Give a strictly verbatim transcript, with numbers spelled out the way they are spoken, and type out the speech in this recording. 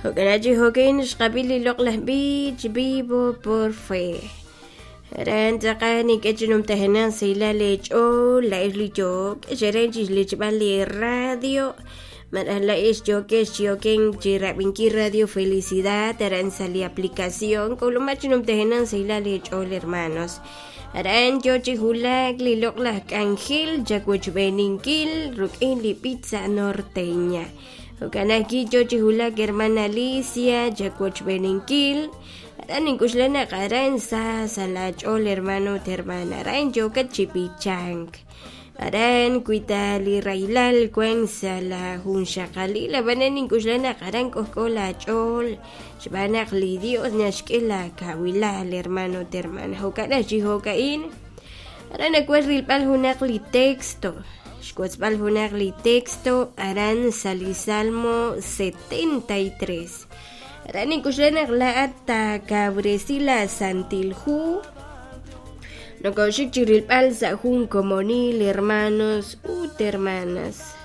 Jo'kan chi jo'kin xqab'i li loq'laj b'ich Vivo por Fe. Aran tz'aqal nink'e chi numtajenaq sahilal eech'ool la'ex li yook xeren chixlichb'al li radio malaj la'ex yookex chi oken chi rab'inkil Radio Felicidad aran sa' li aplicación k'ulumaj chi numtajenaq sahilal eech'ool hermanos. Aran yo chi wulak li loq'laj k'anjel chawochb'eeninkil rik'in li pizza norteña. Jo'kan ajwi' yo chi wulak hermana Alicia chawochb'eeninkil aran nink'uxla naq aran sa sa' laach'ool hermano ut hermana aran yookat chi b'ichank aran wi ta li rahilal wan sa' la junxaqalil ab'anan nink'uxla naq aran k'ojk'o laach'ool xb'aan naq li Dios naxk'e laakawilal hermano ut hermana jo'kan aj chi jo'ka'in aran nawaj rilb'al junaq li texto xwotzb'al junaq li texto aran sa' li Salmo setenta y tres aran nink'uxla naq laa'at taakawresi la Santil Hu nokoxik chi rilb'al sa' jun komonil hermanos ut hermanas.